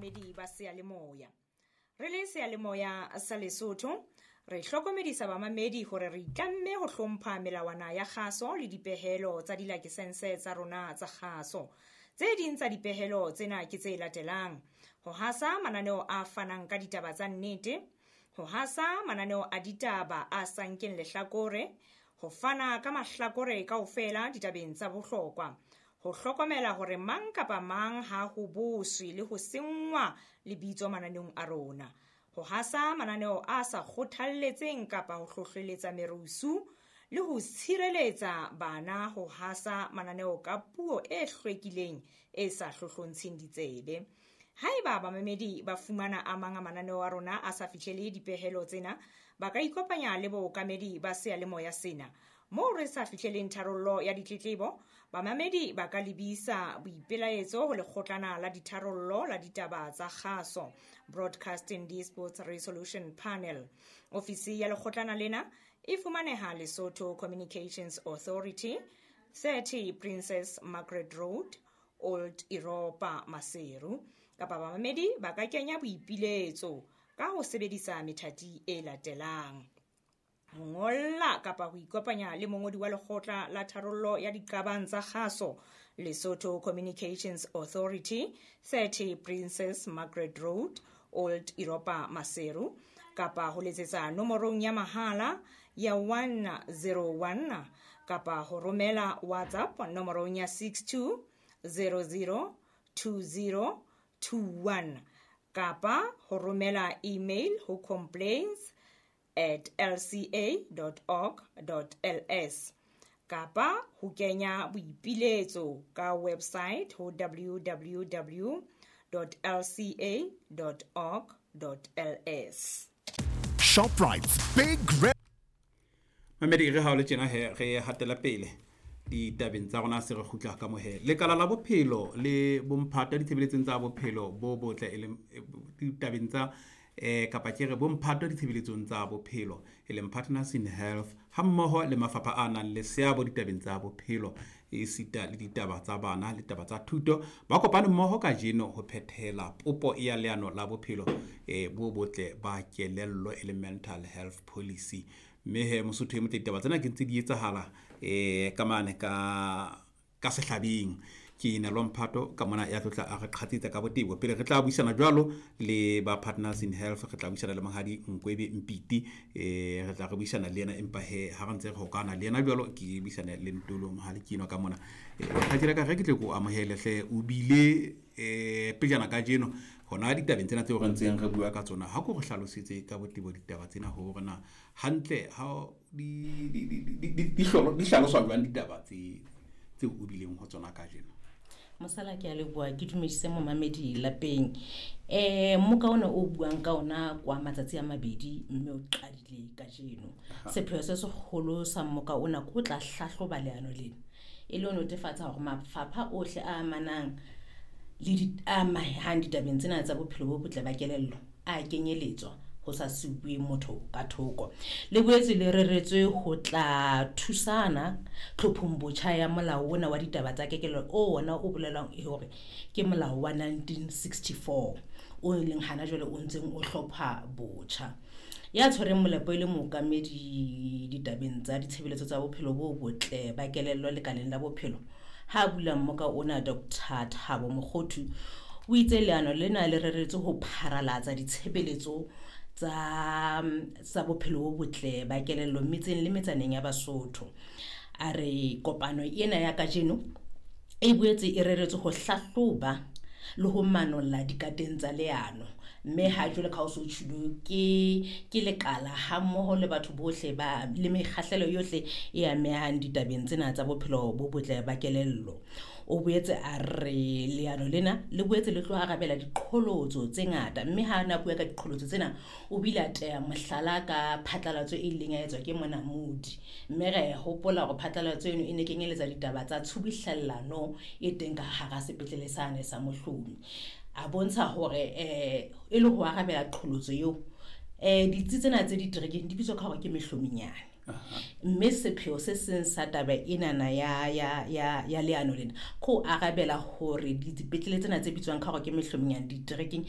Bamamedi ba seyalemoya. Re le seyalemoya sa Lesotho, re hlokomedisa bamamedi hore re itlamme ho hlompha melawana ya kgaso le dipehelo tsa dilakesense tsa rona tsa kgaso. Tse ding tsa dipehelo tsena ke tse latelang: ho hasa mananeo a fanang ka ditaba tsa nnete, ho hasa mananeo a ditaba a sa nkeng lehlakore, ho fana ka mahlakore kaofela ditabeng tsa bohlokwa, ho hlokomela hore mang kapa mang ha ho boswe le ho senngwa lebitso mananeong a rona, ho hasa mananeo a sa kgothalletseng kapa ho hlohleletsa merusu, le ho tshireletsa bana ho hasa mananeo ka puo e hlwekileng e sa hlohlontsheng ditsebe. Haeba bamamedi ba fumana a mang a mananeo a rona a sa fihlele dipehelo tsena, ba ka ikopanya le bookamedi ba seyalemoya sena. Moo re sa fihleleng tharollo ya ditletlebo, bamamedi ba ka lebisa boipelaetso ho lekgotlana la ditharollo la ditaba tsa kgaso, Broadcasting Disputes Resolution Panel. Ofisi ya lekgotlana lena e fumaneha Lesotho Communications Authority, 30 Princess Margaret Road, Old Europa, Maseru. Kapa bamamedi ba ka kenya boipiletso ka ho sebedisa methati e latelang: ho ngolla kapa ho ikopanya le mongodi wa lekgotla la tharollo ya diqabang tsa kgaso, Lesotho Communications Authority, 30 Princess Margaret Road, Old Europa, Maseru, kapa ho letsetsa nomorong ya mahala ya 101, kapa ho romela WhatsApp nomorong ya 62 00 20 21, kapa ho romela email ho complaints@lca.org.ls, kapa ho kenya boipiletso ka website ho www.lca.org.ls. Shoprite's Big Red. Mamedi, re ha o le tjena he, re hatela pele ditabeng tsa rona. Se re kgutla ka mohe lekala la bophelo le bomphata ditshebeletsong tsa bophelo bo botle, e leng ditabeng tsa kapa ke re bomphato ditshebeletsong tsa bophelo, e leng Partners in Health, hammoho le mafapha a nang le seabo ditabeng tsa bophelo esita le ditaba tsa bana le taba tsa thuto, ba kopane mmoho kajeno ho phethela popo ya leano la bophelo bo botle ba kelello, e leng mental health policy. Mme he, Mosotho e motle, ditaba tsena ke ntse di etsahala ka mane ka sehlabeng. Ke na Lomphato ka mona ya tlotla a re qhatsetsa ka botebo. Pele re tla buisana jwalo le ba Partners in Health, re tla buisana le Monghadi Nkwebe Mpiti, re tla re buisana le yena, empa he ha re ntse re hokana le yena jwalo, ke buisane le Ntolo Mohale Kino ka mona. Kgaitsedi ka re ke tle ko amohele hle. O bile pejana kajeno hona ditabeng tsena tseo re ntseng re bua ka tsona. Ha ko re hlalosetse ka botebo ditaba tsena, hore na hantle ha di hlaloswa jwang ditaba tse tseo o bileng ho tsona kajeno. Mosala, ke a leboha. Ke dumedise momamedi lapeng. Mmoka ona o buang ka ona kwa matsatsi a 2, mme o qadile kajeno. Sepheo se seholo sa mmoka ona ke ho tla hlahloba leano lena, e le ho netefatsa hore mafapha ohle a amanang le a amehang ditabeng tsena tsa bophelo bo botle ba kelello a kenyeletswa, ho sa siuwe motho ka thoko. Le boetse le reretswe ho tla thusana tlhophong botjha ya molao ona wa ditaba tsa kekello, o ona o bolelwang e hore ke molao wa 1964, o leng hana jwale o ntseng o hlopha botjha. Ya tshwereng molepo e le mookamedi ditabeng tsa ditshebeletso tsa bophelo bo botle ba kelello lekaleng la bophelo, ha bula mmoka ona, Dr Thabo Mokgothu, o itse leano lena le reretswe ho pharalatsa ditshebeletso tsa bophelo bo botle ba kelello metseng le metsaneng ya Basotho. A re kopano ena ya kajeno e boetse e reretswe ho hlahloba le ho manolla dikateng tsa leano, mme ha jwale ka ho so tjhulo ke lekala hammoho le batho bohle ba le mekgahlelo yohle e amehang ditabeng tsena tsa bophelo bo botle ba kelello. O boetse a re leano lena le boetse le tlo arabela diqholotso tse ngata, mme ha na bua ka diqholotso tsena, o bile a teya mohlala ka phatlalatso e ileng ya etswa ke Monamodi, mme re hopola hore phatlalatso eno e ne kenyeletsa ditaba tsa tshubuhlellano e teng ka hara sepetlele sane sa Mohlomi. A bontsha hore e le ho arabela qholotso eo, ditsi tsena tse diterekeng di bitswa ka hore ke mehlominyane, mme sepheo se seng sa taba enana ya leano lena ke ho arabela hore dipetlele tsena tse bitswang ka hore ke mehlominyane diterekeng